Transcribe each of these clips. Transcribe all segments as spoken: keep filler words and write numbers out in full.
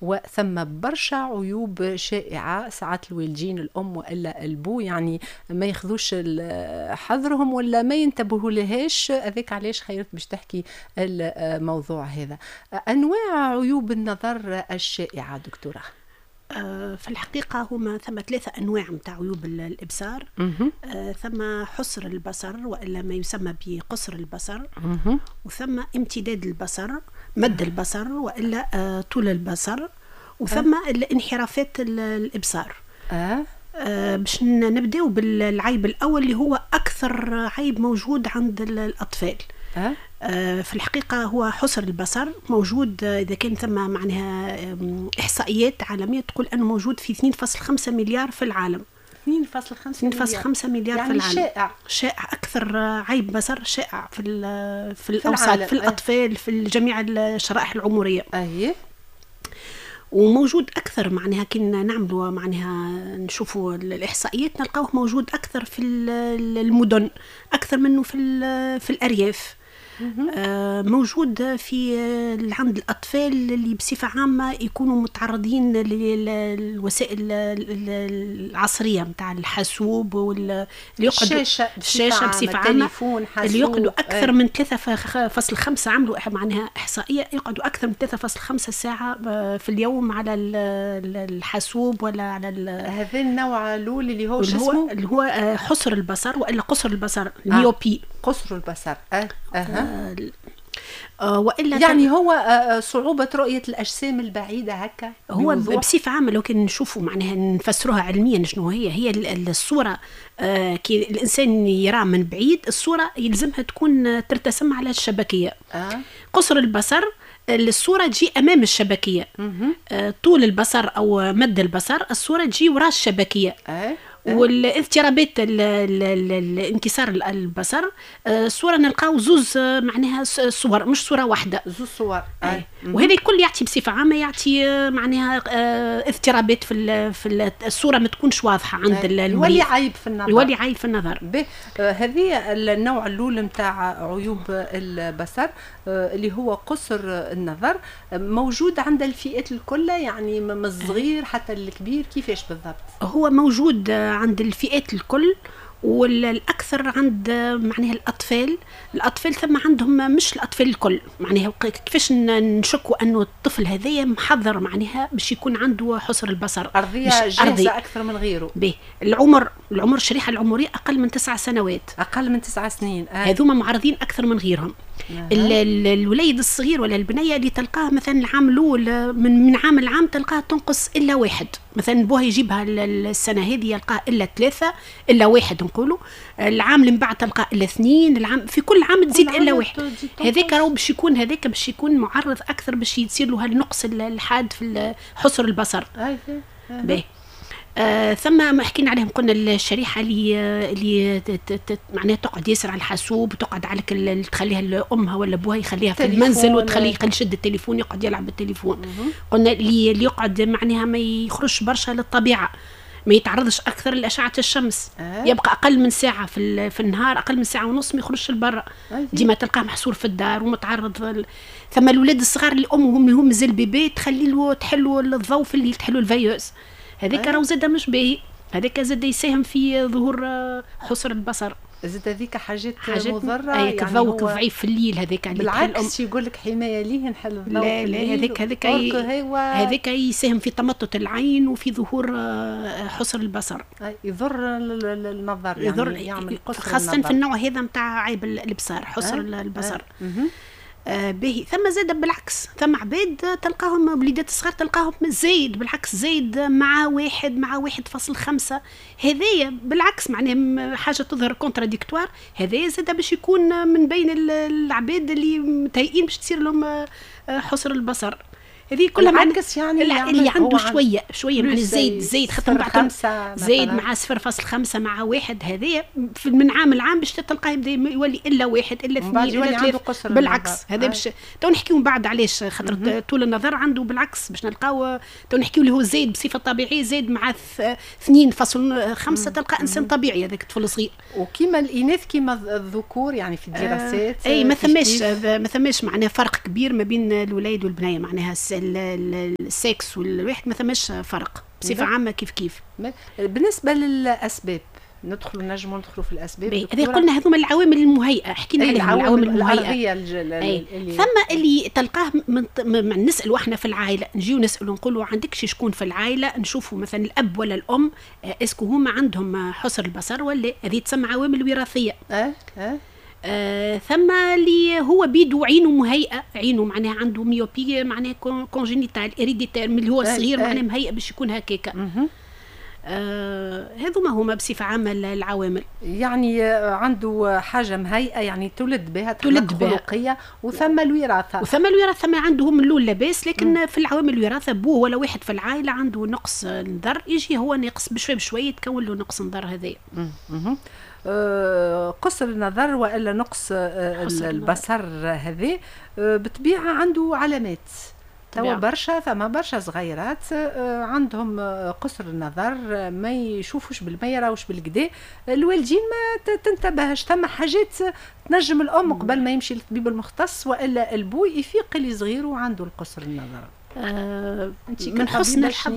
وثم برشا عيوب شائعة، ساعات الوالدين الأم وإلا البو يعني ما ياخذوش حذرهم ولا ما ينتبهوا لهاش. هذاك علاش خيرت باش تحكي الموضوع هذا. أنواع عيوب النظر الشائعة دكتورة. آه، في الحقيقة هما ثم ثلاثة أنواع متاع عيوب الإبصار. آه، ثم حصر البصر وإلا ما يسمى بقصر البصر، وثم امتداد البصر، مد البصر وإلا آه، طول البصر، وثم أه. الانحرافات الإبصار. أه. آه باش نبداو بالعيب الأول اللي هو أكثر عيب موجود عند الأطفال. أه؟ آه في الحقيقة هو حصر البصر موجود، إذا كان ثم معناها إحصائيات عالمية تقول أنه موجود في اثنين فاصل خمسة مليار في العالم. اثنين فاصل خمسة مليار يعني في العالم. شائع شائع، أكثر عيب بصر شائع في في الأوساط، في, في الأطفال، في جميع الشرائح العمرية. أيه. وموجود أكثر معناها كي نعملوا معناها نشوفوا الإحصائيات نلقاوه موجود أكثر في المدن أكثر منه في في الأرياف. آه موجود في عند الأطفال اللي بصفة عامة يكونوا متعرضين للوسائل العصرية متاع الحاسوب وال اللي يقعدوا الشاشة الشاشة بصفة عامة، اللي يقعدوا أكثر من ثلاثة فاصل خمسة، عملوا معناها إحصائية يقعدوا أكثر من ثلاثة فاصل خمسة ساعة في اليوم على الحاسوب ولا على هذا النوع الأول اللي هو شو اسمه؟ اللي هو حصر البصر وإلا قصر البصر، ال myopie. قصر البصر. أه. أه. آه والا يعني هو صعوبة رؤية الأجسام البعيدة هكا. هو بصفة عامة لو كان نشوفوا معناها نفسروها علميا شنو هي، هي الصورة آه كي الإنسان يرى من بعيد الصورة يلزمها تكون ترتسم على الشبكية. آه. قصر البصر الصورة تجي أمام الشبكية. آه طول البصر أو مد البصر الصورة تجي وراء الشبكية. آه. والاضطرابات الانكسار البصر الصورة نلقاو زوز معناها صور مش صوره واحدة، زوز صور. آه. وهذا الكل يعطي بصفة عامة يعطي معناها اضطرابات في في الصورة ما تكونش واضحة عند المريض، يولي عيب في النظر، يولي عيب في النظر. هذه النوع الاول نتاع عيوب البصر اللي هو قصر النظر، موجود عند الفئات الكل يعني من الصغير حتى الكبير، كيفاش بالضبط؟ هو موجود عند الفئات الكل، والاكثر عند معناها الاطفال. الاطفال ثم عندهم مش الاطفال الكل معناها كيفاش نشكوا انه الطفل هذايا محضر معناها باش يكون عنده حصر البصر، ارضية جاهزة اكثر من غيره. به العمر، العمر الشريحة العمرية اقل من تسع سنوات، اقل من تسع سنين، آه. هذوما معرضين اكثر من غيرهم. آه. الوليد الصغير ولا البنية اللي تلقاه مثلا العام الاول من من عام لعام تلقاه تنقص الا واحد، مثلا بوها يجيبها السنة هذه يلقاه الا ثلاثة الا واحد نقولوا، العام اللي من بعد تلقاه الا اثنين، العام في كل عام تزيد الا واحد. هذاك راهو باش يكون هذاك باش يكون معرض اكثر باش يصير له هالنقص الحاد في حصر البصر. باهي. آه ثم ما حكينا عليهم قلنا الشريحة اللي اللي معناها تقعد ياسر على الحاسوب وتقعد على تخليها لامها ولا ابوها يخليها في المنزل وتخليه يشد التليفون يقعد يلعب بالتليفون. قلنا اللي اللي يقعد معناها ما يخرجش برشا للطبيعة، ما يتعرضش اكثر لاشعه الشمس، أه. يبقى اقل من ساعة في في النهار، اقل من ساعة ونص ما يخرجش لبرا، ديما تلقاه محصور في الدار ومتعرض ل... ثم الاولاد الصغار اللي امهم اللي هم مازال bébé تخلي له تحلوا الضوء في الليل، تحلوا ال veilleuse، هذاك راهو زاد مش باهي، هذاك زاد يساهم في ظهور حصر البصر. زاد هذيك حاجات, حاجات مضرة، يعني الضوء ضعيف في الليل هذاك اللي بالعكس يقول لك حماية ليه نحل الضوء. لا لا هذاك هذاك هذاك يساهم في تمطط العين وفي ظهور حصر البصر، يضر النظر، يعني يضر يعمل قصر خاصة النظر. في النوع هذا نتاع عيب الابصار حصر أه؟ البصر. أه؟ آه به ثم زاد بالعكس ثم عباد تلقاهم وليدات الصغار تلقاهم زايد بالعكس، زايد مع واحد مع واحد فاصل خمسة، هذايا بالعكس معناها حاجة تظهر contradictoire، هذايا زاد باش يكون من بين العباد اللي متهيئين باش تصير لهم حصر البصر. هذه كلها بالعكس يعني اللي عنده شوية شوية معناها زايد زايد خاطر بعد زايد مع صفر فاصل خمسة مع واحد، هذايا من عام لعام باش تلقاه يبدا يولي الا واحد الا اثنين الا ثلاثة، بالعكس هذا باش تو نحكيو من بعد علاش خاطر طول النظر عنده بالعكس باش نلقاو تو نحكيو اللي هو زايد بصفة طبيعية زايد مع اثنين فاصل خمسة تلقى انسان طبيعي هذاك الطفل صغير. وكيما الاناث كيما الذكور يعني في الدراسات آه اي ما ثماش ما ثماش معناها فرق كبير ما بين الولاد والبنية، معناها السكس والواحد ما ثماش فرق بصفة عامة كيف كيف. بالنسبة للاسباب ندخلوا نجموا ندخلوا في الاسباب. هذه قلنا هذوما العوامل المهيئه، حكينا عليهم العوامل المهيئه. ثم اللي تلقاه من, من نسالوا احنا في العائلة، نجيو نسالوا نقولوا عندك شي شكون في العائلة، نشوفوا مثلا الاب ولا الام est-ce que هما عندهم حصر البصر ولا، هذه تسمى عوامل وراثية. اه اه آه ثم اللي هو بيدو عينه مهيئة، عينه معناها عنده myopie معناها congénitale héréditaire من اللي هو صغير معناها مهيئ باش يكون هكاكا. آه هذوما هما بصفة عامة العوامل. يعني عنده حاجة مهيئة يعني تولد بها، تولد بها خلقية، وثم الوراثة. وثم الوراثة ما عندهم من الاول لاباس، لكن مم. في العوامل الوراثة بوه ولا واحد في العائلة عنده نقص نظر، يجي هو ناقص بشوي بشوي يتكون له نقص نظر هذايا. آه قصر النظر والا نقص آه البصر هذا آه بالطبيعة عنده علامات. توا برشا ثما برشا صغيرات عندهم قصر النظر، ما يشوفوش ما يراوش بالكدا، الوالدين ما تنتبهش. ثم حاجات تنجم الام قبل ما يمشي للطبيب المختص والا البو يفيق اللي صغير وعنده القصر النظر. آه من حسن الحظ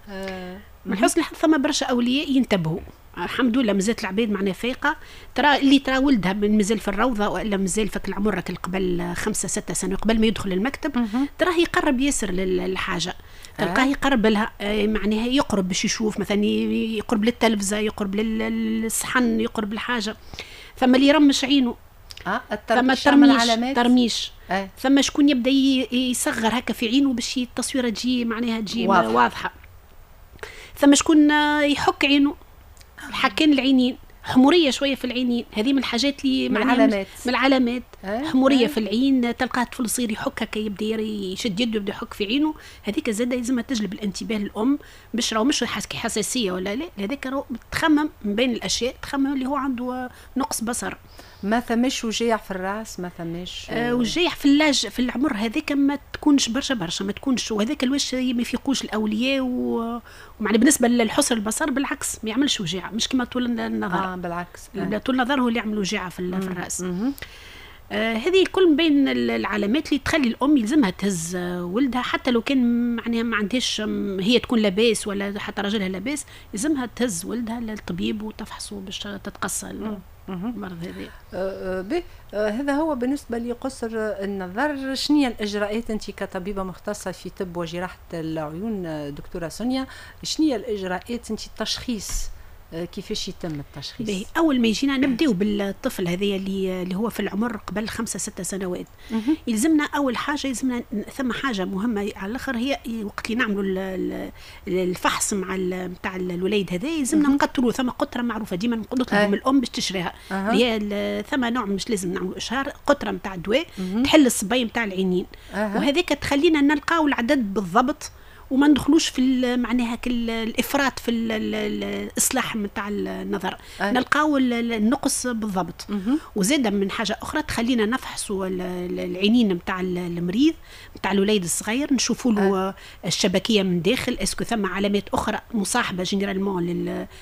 آه من حسن الحظ ثم برشا اولياء ينتبهوا، الحمد لله مازالت العباد معنا فايقه. ترى اللي ترى ولدها مازال في الروضة والا مازال فك العمر قبل خمسة ستة سنوات قبل ما يدخل المكتب، تراه يقرب ياسر للحاجة، تلقاه يقرب لها، معناها يقرب باش يشوف مثلا، يقرب للتلفزه، يقرب للصحن، يقرب للحاجة. ثم اللي يرمش عينه، اه ثم الترميش، ترميش. آه. ثم شكون يبدا يصغر هكا في عينه باش التصويره تجي معناها تجي واضحة, واضحة. ثم شكون يحك عينه، حكين العينين، حموريه شوية في العينين، هذه من الحاجات اللي من العلامات، من العلامات. أه؟ حموريه أه؟ في العين، تلقاه طفل صغير يحك هكا، يبدا يشد يده يبدا يحك في عينه، هذيك زاده لازمها تجلب الانتباه للام باش راهو مش حساسية ولا لا، هذاك راهو تخمم من بين الاشياء، تخمم اللي هو عنده نقص بصر. ما ثماش وجيع في الراس، ما ثماش آه وجيع في l'âge في العمر هذاك ما تكونش برشا برشا، ما تكونش، وهذاك الواش ما يفيقوش الاولياء. ومعنى بالنسبة للحصر البصر بالعكس ما يعملش وجيعه، مش كما طول النظر. اه بالعكس، آه. طول النظر هو اللي يعمل وجيعه في, في الراس. آه هذه الكل من بين العلامات اللي تخلي الام يلزمها تهز ولدها، حتى لو كان معناها ما عندهاش هي تكون لاباس ولا حتى راجلها لاباس، يلزمها تهز ولدها للطبيب وتفحصه باش تتقصى المرض هذا. أه هذا هو بالنسبة لقصر النظر. شنو هي الاجراءات انت كطبيبه مختصة في طب وجراحه العيون دكتورة سونيا، شنو هي الاجراءات انت التشخيص كيفاش يتم التشخيص؟ اول ما يجينا نبداو بالطفل هذا اللي اللي هو في العمر قبل خمسة ستة سنوات. مه. يلزمنا اول حاجة، يلزمنا ثم حاجة مهمة على الاخر، هي وقت اللي نعملوا الفحص مع نتاع الوليد هذا يلزمنا نقطروا، ثم قطرة معروفة ديما نطلبوا من الام باش تشريها، اللي هي ثم نوع مش لازم نعملوا اشهار، قطرة نتاع دواء تحل الصبي نتاع العينين. أه. وهذاك تخلينا نلقاو العدد بالضبط وما ندخلوش في معناها الافراط في الاصلاح نتاع النظر. أه. نلقاو النقص بالضبط. وزاد من حاجة اخرى تخلينا نفحصوا العينين نتاع المريض نتاع الوليد الصغير، نشوفوا له أه. الشبكيه من داخل، est-ce que ثم علامات اخرى مصاحبه généralement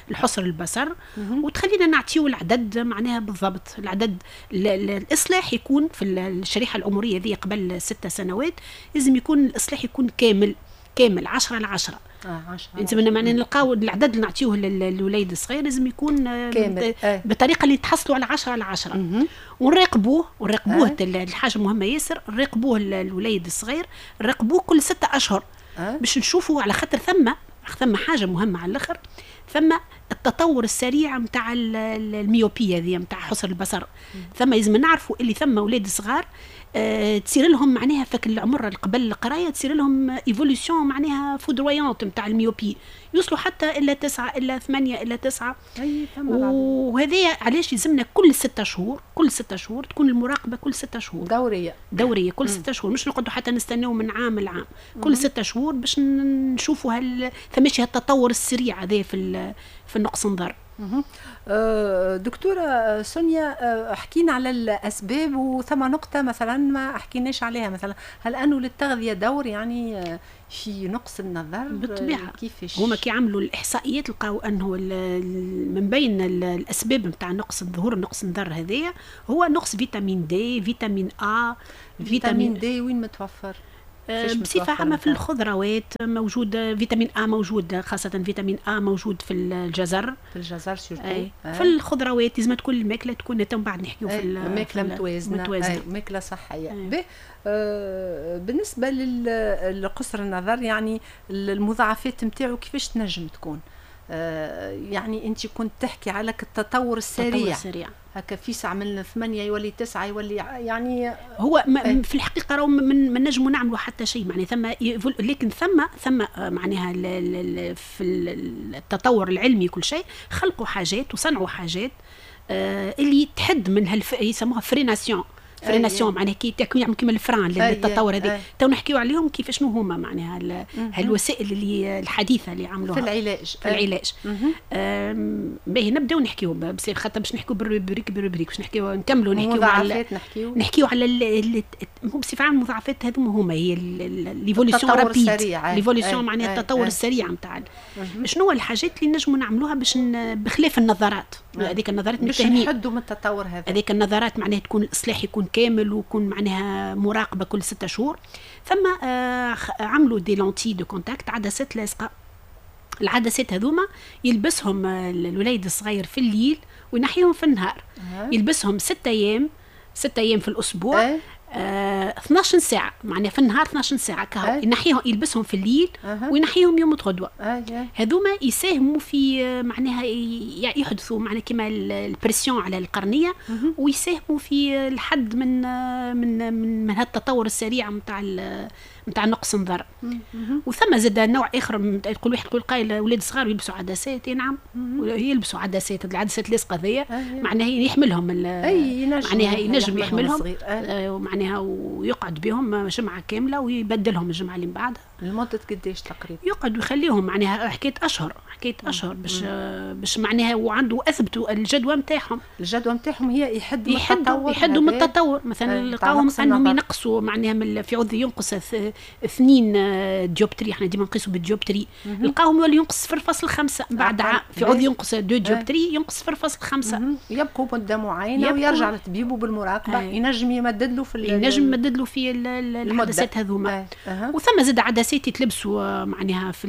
للحصر البصر. مه. وتخلينا نعطيو العدد معناها بالضبط. العدد الاصلاح يكون في الشريحة العمرية ذي قبل ستة سنوات لازم يكون الاصلاح يكون كامل كامل عشرة على عشرة. اه عشرة. انت من معنى نلقاو العدد اللي نعطيوه للوليد الصغير لازم يكون كامل آه. بطريقة اللي تحصلوا على عشرة على عشرة. ونراقبوه ونراقبوه آه. الحاجة مهمة ياسر، نراقبوه الوليد الصغير، نراقبوه كل ستة اشهر آه. باش نشوفوا، على خاطر ثم ثم حاجة مهمة على الاخر، ثم التطور السريع نتاع ال myopie هذه نتاع حصر البصر. ثم لازم نعرفوا اللي ثم اولاد صغار أه تصير لهم معناها فك العمر قبل القراية تصير لهم évolution معناها foudroyante نتاع ال myopie، يوصلوا حتى الى تسعة الى ثمانية الى تسعة. وهذا علاش يلزمنا كل ستة شهور، كل ستة شهور تكون المراقبة، كل ستة شهور دورية دورية كل ستة شهور، مش نقعدوا حتى نستناو من عام لعام، كل ستة شهور باش نشوفوا هل ثماشي هالتطور السريع هذا في في النقص نظر. دكتورة سونيا، حكينا على الأسباب وثم نقطة مثلا ما حكيناش عليها، مثلا هل أنه للتغذية دور يعني في نقص النظر؟ بالطبيعة. كيفاش هما كي عملوا الإحصائيات لقاو أنه من بين الأسباب نتاع نقص ظهور نقص النظر هذايا هو نقص vitamine D، vitamine A. vitamine D وين متوفر؟ آه، بصفة عامة في الخضروات موجود vitamine A، موجود خاصة vitamine A موجود في الجزر. في الجزر surtout. آه. في الخضروات لازم تكون الماكلة تكون، من بعد نحكيو في الماكلة متوازنه، متوازنه، ماكله صحيه. آه بالنسبة لقصر النظر، يعني المضاعفات نتاعو كيفاش تنجم تكون؟ آه يعني انت كنت تحكي على التطور السريع. التطور السريع. هكا فيسع من ثمانية يولي تسعة يولي يعني. هو ما في الحقيقة راهو من ما نجموا نعملوا حتى شيء، معناها ثم، لكن ثم ثم معناها في التطور العلمي كل شيء خلقوا حاجات وصنعوا حاجات آه اللي تحد من هالف، يسموها freination، freination معناها كي يعمل كيما ال frein للتطور هذا. تو نحكيو عليهم كيف شنو هما معناها هالوسائل اللي الحديثة اللي عملوها. في العلاج. في العلاج. باهي، نبداو نحكيو بس خاطر باش نحكيو بال rubrique بال rubrique باش نحكيو نكملوا نحكيو على نحكيو نحكيو على هو بصفة عامة المضاعفات هذوما هما هي l'évolution rapide، l'évolution معناها التطور السريع نتاع. شنو هو الحاجات اللي نجموا نعملوها باش بخلاف النظارات هذيك النظارات؟ باش نحدوا من التطور هذا. هذيك النظارات معناها تكون الاصلاح يكون كامل ويكون معناها مراقبة كل ستة شهور. ثم آه عملوا des lentilles de contact، عدسات لاصقه. العدسات هذوما يلبسهم الوليد الصغير في الليل وينحيهم في النهار. أه. يلبسهم ستة ايام، ستة ايام في الاسبوع. أه. آه اثناش ساعة معناها في النهار، اثناش ساعة كهو. ينحيهم، يلبسهم في الليل أه. وينحيهم يوم غدوة. أه. هذوما يساهموا في معناها يحدثوا معناها كما ال pression على القرنية ويساهموا في الحد من من من, من هالتطور السريع نتاع نتاع نقص النظر. وثم زاد نوع اخر، تقول واحد، تقول قايل اولاد صغار يلبسوا عدسات. نعم، يلبسوا عدسات، العدسات اللاصقه ذي معناها يحملهم، معناها ينجم يحملهم آه معناها ويقعد بهم جمعه كاملة ويبدلهم الجمعة اللي من بعدها. لمدة قديش تقريبا؟ يقعد ويخليهم معناها حكاية اشهر، حكاية اشهر باش باش معناها وعنده اثبتوا الجدوى نتاعهم. الجدوى نتاعهم هي يحد من التطور، يحدوا من التطور. مثلا لقاهم انهم ينقصوا معناها من في عوض ينقص اثنين dioptries، احنا ديما نقيسوا بال dioptrie، لقاهم يولي ينقص صفر فاصل خمسة بعد عام، في عوض ينقص deux dioptries ينقص صفر فاصل خمسة. يبقوا مده معينة ويرجع لطبيبه بالمراقبه. ينجم يمدد له في ينجم يمدد له في العدسات هذوما. وثم زاد عدسات يتلبسوا معناها في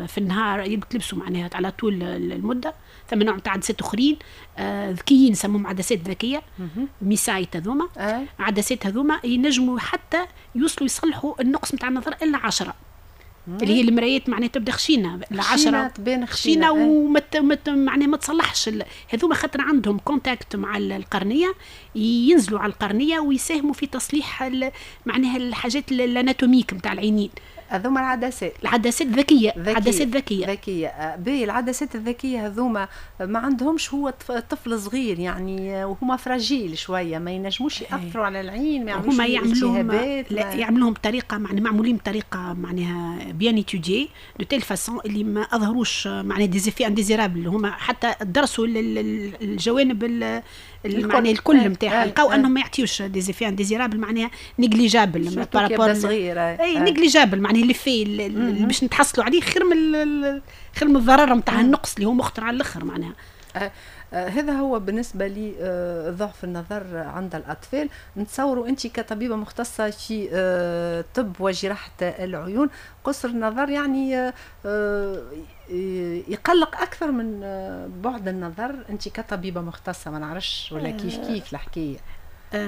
في النهار، يتلبسوا معناها على طول المده. ثم نوع تاع عدسات اخرين آه، ذكيين، نسموهم عدسات ذكية MiSight. هذوما عدسات هذوما ينجموا حتى يوصلوا يصلحوا النقص نتاع النظر الا عشرة، اللي هي المرايات معناها تبدا خشينه. العشرة تبان. خشينه وما معناها ما تصلحش. هذوما خاطر عندهم contact مع القرنيه، ينزلوا على القرنيه ويساهموا في تصليح معناها الحاجات ال anatomiques نتاع العينين. هذوما العدسات. العدسات ذكيه، عدسات ذكيه. ذكيه. باهي، العدسات الذكية هذوما ما عندهمش، هو طفل صغير يعني وهما fragiles شويه، ما ينجموش ياثروا على العين؟ ما يعملوش هما يعملوهم، لا، يعملوهم بطريقة معناها معمولين بطريقة معناها bien étudiée de telle façon اللي ما اظهروش معناها des effets indésirables. هما حتى درسوا الجوانب معناها الكل نتاعها، لقاو انهم ما يعطيوش des effets indésirables، معناها négligeables. par rapport صغير. اي، négligeable معناها l'effet اللي باش نتحصلوا عليه خير من خير من الضرر نتاع النقص اللي هو مخطر على الاخر معناها. آه آه هذا هو بالنسبة لضعف النظر عند الأطفال. نتصوروا أنت كطبيبة مختصة في آه طب وجراحة العيون، قصر النظر يعني آه، يقلق أكثر من بعد النظر. أنت كطبيبة مختصة، ما نعرفش ولا كيف كيف الحكاية،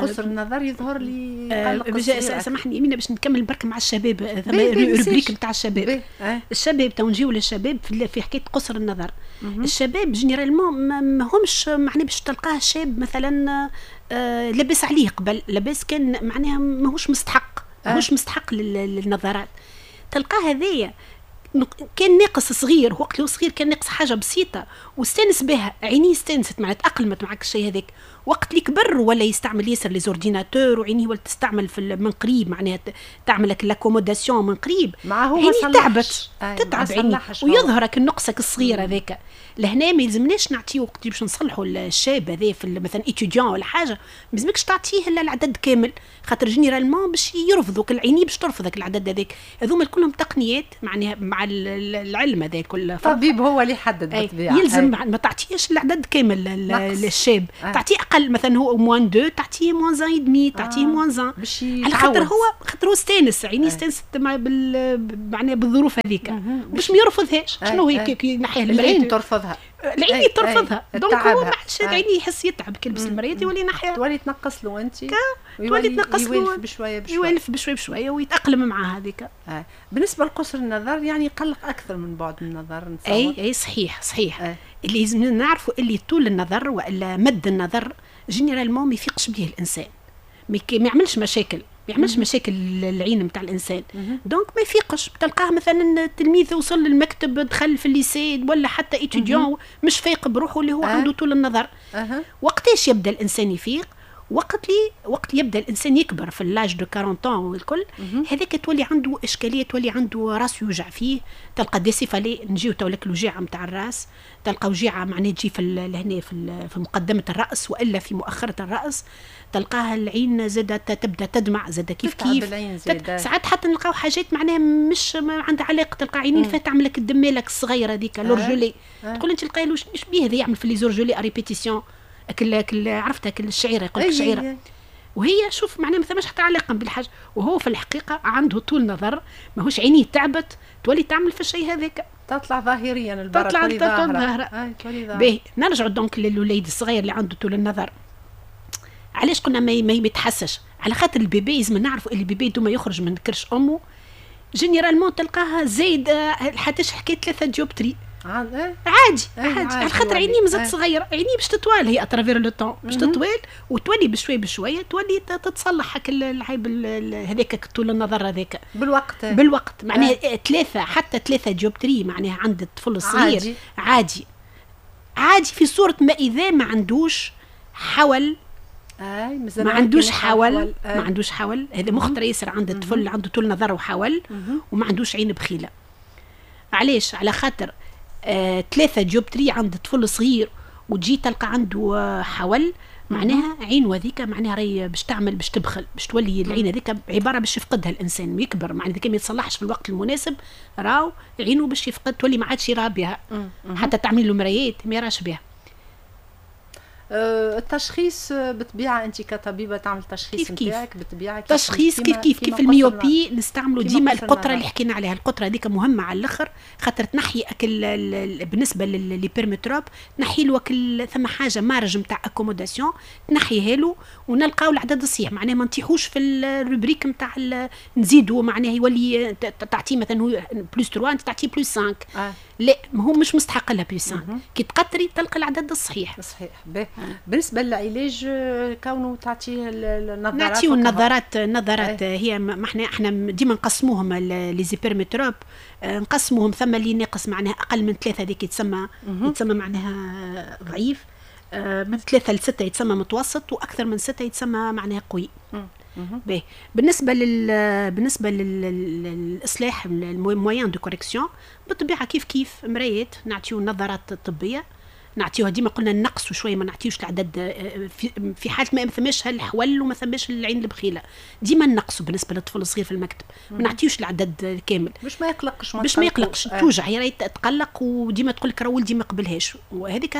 قصر النظر يظهر لي يقلق. سامحني امينه، باش نكمل برك مع الشباب، rubrique نتاع الشباب. الشباب تو نجيو للشباب في حكاية قصر النظر. الشباب généralement ما همش معناها باش تلقاه شاب مثلا آه لاباس عليه قبل، لاباس كان، معناها ماهوش مستحق، ماهوش مستحق للنظارات. تلقاه هذايا كان ناقص صغير، وقت اللي هو صغير كان ناقص حاجة بسيطة واستانس بها، عينيه استانست معناتها تاقلمت معك الشيء هذاك. وقت اللي كبر ولا يستعمل ياسر les ordinateurs وعينيه ولا تستعمل في من قريب، معناها تعمل لك l'accommodation من قريب. مع هو عينيه تعبت، تتعب عينيه ويظهرك النقصك الصغير هذاك. لهنا ما يلزمناش نعطيه وقت باش نصلحوا الشاب هذا في مثلا étudiant ولا حاجه، ما يلزمكش تعطيه الا العدد كامل، خاطر généralement باش يرفضوك العيني، باش ترفضك العدد هذاك. هذوما كلهم تقنيات معناها مع العلم هذا كل طبيب هو اللي يحدد بالطبيعة. يلزم ما تعطيش العدد كامل للشاب، تعطيه اقل، مثلا هو moins deux تعطيه moins un et demi، تعطيه moins un، على خاطر هو خاطر هو استانس، عينيه استانست مع بال معناها بالظروف هذيك باش ما يرفضهاش. شنو هي كي ينحيها العين ترفضها، العين ترفضها، donc هو ما عادش عينيه يحس يتعب كي يلبس المرايات يولي ينحيها، تولي تنقص له انت، تولي تنقص له، يولف بشوية بشوية، يولف بشوية بشوية ويتاقلم مع هذيك. آه. بالنسبة لقصر النظر يعني يقلق اكثر من بعد النظر نتصور. اي اي صحيح صحيح. آه. اللي لازم نعرفوا اللي طول النظر والا مد النظر généralement ما يفيقش به الانسان، ما يعملش مشاكل، ما يعملش مشاكل العين نتاع الانسان، donc ما يفيقش. تلقاه مثلا التلميذ وصل للمكتب، دخل في ال lycée ولا حتى étudiant، مش فايق بروحه اللي هو أه. عنده طول النظر. أه. وقتاش يبدا الانسان يفيق؟ وقت لي وقت يبدا الانسان يكبر في l'âge de quarante ans والكل، هذاك تولي عنده اشكاليه، تولي عنده راس يوجع فيه، تلقى des céphalées، نجيو تو لك الوجيعه نتاع الراس، تلقى وجيعه معناها تجي في لهنا في في مقدمه الراس والا في مؤخره الراس، تلقاها العين زادة تبدا تدمع زادة كيف كيف ساعات حتى نلقاو حاجات معناها مش ما عندها علاقه، تلقى عينين فيها تعمل لك الدمالك الصغيرة هذيك l'orgelet، تقول انت تلقاي ايش بيه هذا يعمل في les orgelets à répétition، كل كل عرفتها كل الشعيرة يقول لك شعيرة، وهي شوف معناها ما ثماش حتى علاقة بالحاجه، وهو في الحقيقة عنده طول نظر، ماهوش عينيه تعبت تولي تعمل في الشيء هذاك، تطلع ظاهريا البرة تطلع ظاهره. باهي نرجعوا donc للوليد الصغير اللي عنده طول النظر. علاش قلنا ما ما يتحسش؟ على خاطر ال bébé لازم نعرفوا اللي ال bébé دوما يخرج من كرش امه généralement تلقاها زايد حتى حكاية ثلاثة dioptries عادي عادي على خاطر عينيه مازالت صغيرة، عينيه باش تطوال هي à travers le temps باش تطوال وتولي بشوي بشوية تولي تتصلح هاك العيب هذاك طول النظر هذاك بالوقت بالوقت معناها ثلاثة حتى ثلاثة dioptries معناها عند الطفل الصغير عادي عادي, عادي في صوره ما اذا ما عندوش حول، اي ما عندوش حول، ما عندوش حول، هذا مخطر ياسر عند الطفل اللي عنده طول نظر وحول وما عندوش عين بخيله. علاش؟ على خاطر آه، ثلاثة dioptries عند طفل صغير وتجي تلقى عنده آه، حول، معناها عين وذيك معناها راهي باش تعمل باش تبخل، باش تولي العين هذيك عبارة باش يفقدها الانسان يكبر، معناها اذا ما يتصلحش في الوقت المناسب راهو عينه باش يفقد، تولي ما عادش يرى بها، حتى تعمل له مرايات ما يراش بها. أه، التشخيص بالطبيعة انت كطبيبه تعمل تشخيص نتاعك بالطبيعة، تشخيص كيف كيف كيف ال myopie نستعملوا ديما القطرة اللي حكينا عليها، القطرة هذيك مهمة على الاخر خاطر تنحي اكل بالنسبة ل l'hypermétrope تنحي له اكل ثم حاجة marge نتاع accommodation تنحيها له ونلقاو العدد الصحيح، معناها ما نطيحوش في ال rubrique نتاع نزيدوا معناها يولي تعطيه مثلا هو plus ثلاثة انت تعطيه plus خمسة. آه. لا ما هو مش مستحق لها plus خمسة، كي تقطري تلقى العدد الصحيح صحيح. بالنسبة للعلاج كونه تعطيه النظارات، نعطيه النظارات النظارات هي ما احنا احنا ديما نقسموهم les hypermétropes، نقسموهم ثم اللي ناقص معناها اقل من ثلاثة هذيك يتسمى يتسمى معناها ضعيف، من ثلاثة لستة يتسمى متوسط، واكثر من ستة يتسمى معناها قوي. باهي بالنسبة لل بالنسبة للاصلاح ال moyens de correction بالطبيعة كيف كيف مرايات نعطيو النظارات الطبية، نعطيوها ديما قلنا نقصوا شوية ما نعطيوش العدد في, في حاله ما ثماش الحول وما ثماش العين البخيله، ديما نقصوا بالنسبة للطفل الصغير في المكتب ما نعطيوش العدد الكامل باش ما يقلقش، باش ما يقلقش آه. توجع هي راهي تقلق وديما تقول لك راه ولدي ما قبلهاش، وهذيك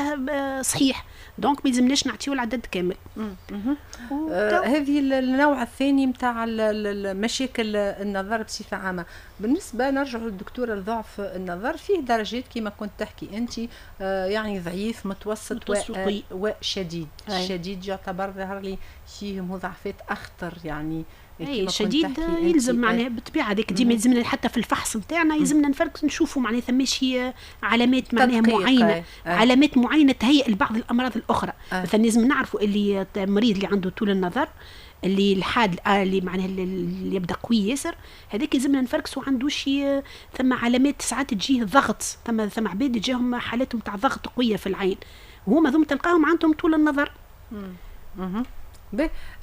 صحيح، donc ما يلزمناش نعطيو العدد كامل. آه هذه النوع الثاني نتاع مشاكل النظر بصفة عامة. بالنسبة نرجع للدكتوره لضعف النظر فيه درجات كما كنت تحكي انت، آه يعني ضعيف متوسط, متوسط و... وشديد. الشديد يعتبر ظهر لي فيه مضاعفات اخطر يعني اي شديد يلزم معناها بالطبيعة هذيك ديما يلزمنا حتى في الفحص نتاعنا يلزمنا نفرك نشوفوا معناها ثماش علامات معناها معينة أي. علامات معينة تهيئ لبعض الامراض الاخرى. أي. مثلا لازم نعرفوا اللي المريض اللي عنده طول النظر اللي الحاد اللي معناها اللي يبدا قوي ياسر هذاك يلزمنا نفركسوا عنده شي ثم علامات ساعات تجيه ضغط، ثم ثم عباد تجيهم حالاتهم تاع ضغط قوية في العين وهما ذم تلقاهم عندهم طول النظر. مم.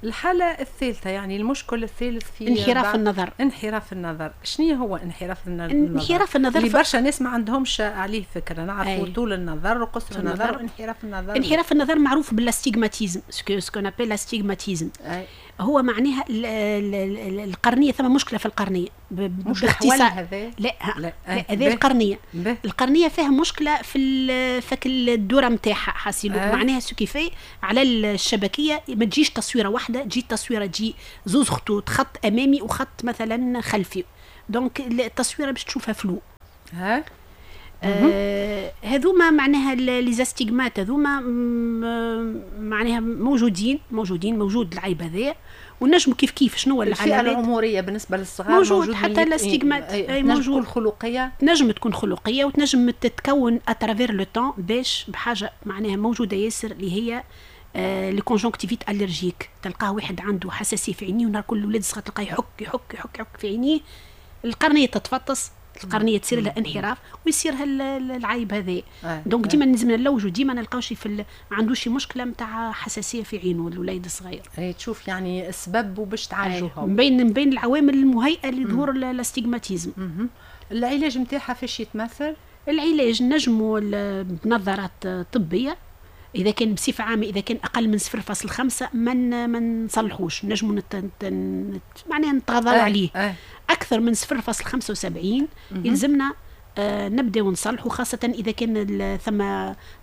الحالة الثالثة يعني المشكل الثالث في انحراف النظر. انحراف النظر، شنو هو انحراف النظر؟ انحراف النظر اللي برشا ناس ما عندهمش عليه فكرة، نعرفوا طول النظر وقصر النظر وانحراف النظر. انحراف النظر معروف بال astigmatisme، ce qu'on appelle l'astigmatisme. هو معناها القرنيه، ثم مشكلة في القرنيه. مش باختصار هذا؟ لا لا هذه القرنيه. به. القرنيه فيها مشكلة في فك الدورة نتاعها حاسيلو. أه. معناها ce qui fait على الشبكيه ما تجيش تصويره واحده، تجي تصويره، تجي زوز خطوط، خط امامي وخط مثلا خلفي، donc التصويره باش تشوفها floue. ها آه هذوما معناها les astigmates هذوما معناها موجودين موجودين موجود العيب هذايا، ونجم كيف كيف شنو العلامات. الفئة العمرية بالنسبة للصغار؟ موجود, موجود حتى l'astigmate. اي موجود. تكون خلقيه؟ تنجم تكون خلقية وتنجم تتكون à travers le temps باش بحاجة معناها موجودة ياسر اللي هي آه les conjonctivites allergiques. تلقاه واحد عنده حساسية في عينيه، ونهار كل الولاد الصغار تلقاه يحك يحك يحك يحك في عينيه، القرنيه تتفطس، القرنيه تصير لها انحراف ويصير العيب هذا. آه. donc ديما لازم نلوجوا، ديما نلقاو شي في ال... عنده شي مشكلة نتاع حساسية في عينه الوليد الصغير. اي تشوف يعني السبب وباش تعالجوها. من بين من بين العوامل المهيئه لظهور l'astigmatisme. العلاج نتاعها فاش يتمثل؟ العلاج نجموا بنظارات طبيه. اذا كان بصفة عامة اذا كان اقل من صفر فاصل خمسة ما ما نصلحوش، نجموا نت... نت... معناها نتغاضوا آه. عليه. آه. اكثر من صفر فاصل خمسة وسبعين يلزمنا آه نبداو نصلحوا، خاصة إذا كان ثم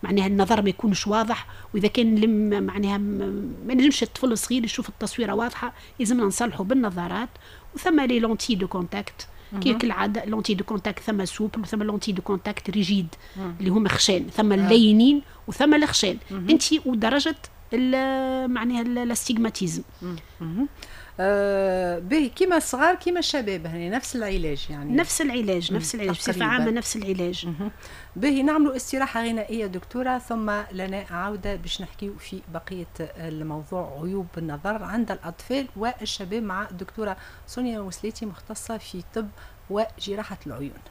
معناها النظر ما يكونش واضح، وإذا كان لم معناها ما نجمش الطفل الصغير يشوف التصويرة واضحة، يلزمنا نصلحوا بالنظارات. وثم les lentilles de contact كي كالعادة، lentilles de contact ثم souples وثم lentilles de contact rigides اللي هما خشان، ثم اللينين وثم الخشان، انت ودرجة معناها l'astigmatisme. آه به كيما الصغار كيما الشباب يعني نفس العلاج يعني؟ نفس العلاج، نفس العلاج بصفة عامة نفس العلاج. به، نعملوا استراحة غنائية دكتوره، ثم لنا عوده باش نحكيو في بقية الموضوع، عيوب النظر عند الاطفال والشباب، مع الدكتورة سونيا وسليتي، مختصة في طب وجراحه العيون.